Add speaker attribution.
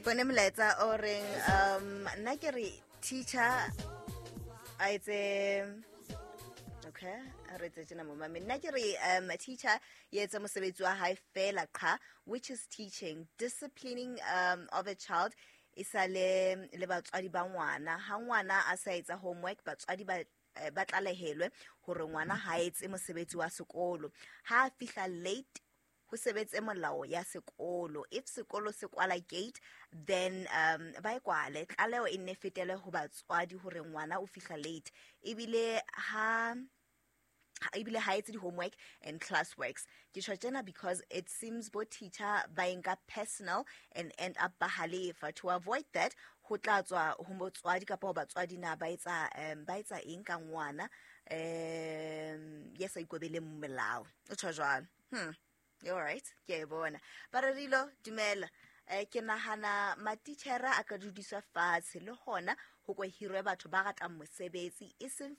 Speaker 1: Bone molaetsa o reng, nna ke re teacher a etse, okay, a re etse tjena momame. Nna ke re teacher e etse mosebetsi wa hae fela qha, which is teaching. Disciplining of a child e sa le batswadi ba ngwana. Ha ngwana a sa etsa homework, batswadi ba tlalehelwe hore ngwana ha etse mosebetsi wa sekolo. Ha a fihla late, ho sebetse molao ya sekolo. If sekolo se kwala gate, then ba e kwale. Tlaleho e nne fetele ho batswadi hore ngwana o fihla late, ebile ha etse di-homework and class works. Ke tjho tjena because it seems bo teacher ba e nka personal and end up ba halefa. To avoid that, ho tla tswa ho motswadi kapa ho batswadi na ba etsa eng ka ngwana ya sa ikobeleng melao. O tjho jwalo. All right, ke a e bona. Bararilo, dumela. Ke nahana matitjhere a ka dudiswa fatshe, le hona ho ko hirwe batho ba ratang mosebetsi, e seng